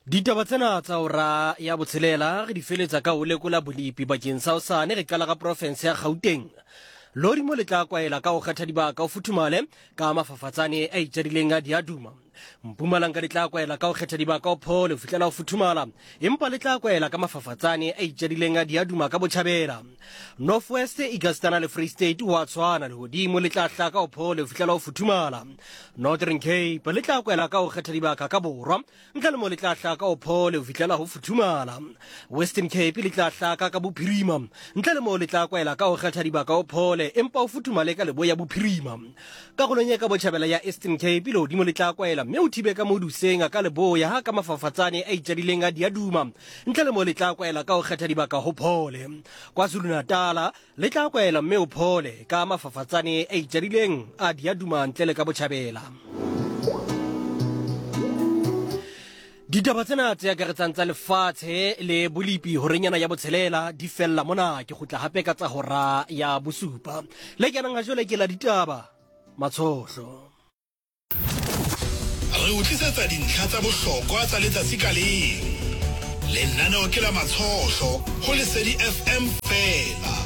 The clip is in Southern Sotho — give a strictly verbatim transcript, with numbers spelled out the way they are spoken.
Ditaba tsena tsa hora ya botshelela re di feletsa ka ho lekola bolepi bakeng sa hosane. Re qala ka porofense ya Gauteng. Lehodimo le tla kwaela ka ho kgetha dibaka ho futhumale ka mafafatsane a itjadileng a diaduma. Mpumalanga le tla kwaela ka ho kgetha dibaka ho phole ho fihlela ho futhumala, empa le tla kwaela ka mafafatsane a itjadileng a diaduma ka botjhabela. North West, Ikastana le Free State ho a tshwana, lehodimo le tla hlaka ho phole ho fihlela ho futhumala. Northern Cape le tla kwaela ka ho kgetha dibaka ka borwa, ntle le mo le tla hlaka ho phole ho fihlela ho futhumala. Western Cape le tla hlaka ka bophirima, ntle le mo le tla kwaela ka ho kgetha dibaka ho phole, empa ho futhumale ka leboya bophirima. Karolong e ka botjhabela ya Eastern Cape lehodimo le tla kwaela mme o thibe ka moduseng ka leboya ha ka mafafatsane a itjadileng a diaduma, ntle le mo le tla kwaela ka ho kgetha dibaka ho phole. KwaZulu-Natal le tla kwaela mme o phole ka mafafatsane a itjadileng a diaduma ntle le ka botjhabela. Ditaba tsena tse akaretsang tsa lefatshe le bolepi horenyana ya botshelela di fella mona. Ke kgutla hape ka tsa hora ya bosupa. Le kenang ha jwale ke la ditaba Matshohlo. Re o tlisetsa dintlha tsa bohlokwa tsa letsatsi ka leng. Lenaneo ke la Matshohlo ho Lesedi F M fela.